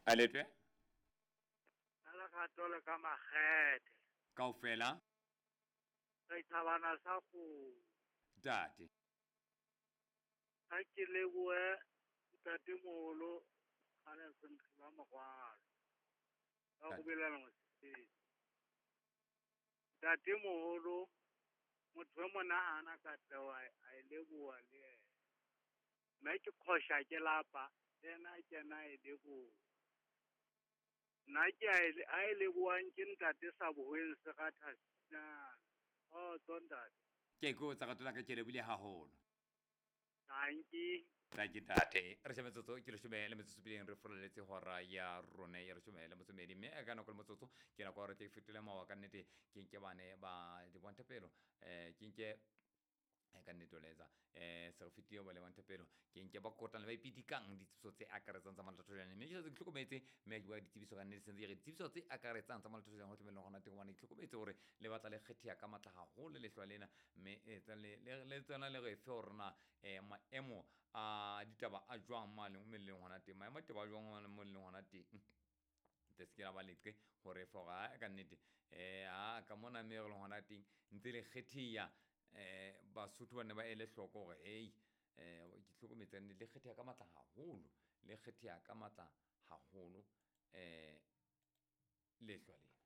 A letwe. Ka lerato le ka makgethe. Kaofela. Setjhabana sa kgomo. Ntate. Ha ke lebohe ntatemoholo Kgalefo Nthiba Morwalo. Ka go belela mosebetsi. Ntatemoholo motho e monahana katleho a e leboha le yena. Mme ke qhosha ke lapa le yena a kena a e leboha. Nna ke a e lebohang ke ntate sa bohweng Seratha Sinane. Kgotso ntate. Ke ikotsa rato la ka ke lebohile haholo. Tanki. Tanki ntate. Re shebe metsotso ke leshome le metsotso bileng re fololetse hora ya rone ya leshome le motso medi mme ka nako le motsotso ke nako ya gore ke fetole mawa ka nnete ke nke bane ba dibontapelo ke nke ka nnete o laetsa se re fetile ba lebang thapelo ke nke ba kotang le ba ipitikang ditsebiso tse akaretsang tsa malathotlane mme ke setse ke tlhokometse mme ke bua ditsebiso ka nnete sentse ke re ditsebiso tse akaretsang tsa malathotlane go tlameleng gona teng gobane ke tlhokometse gore le batla le kgetheya ka matla gagolo lehlwa lena mme le tsena le re fe gore na maemo a ditaba a jwang mo a leng mo leng gona teng maemo a ditaba a jwang mo leng gona teng tle se ke la ba leqe gore fa gore ka nnete a ka mona mme re leng gona teng ntse le kgetheya Basotho ba ne ba ele hloko gore hei ke hlokometse le kgetheha ka matla haholo le kgetheha ka matla haholo lehlwa lena.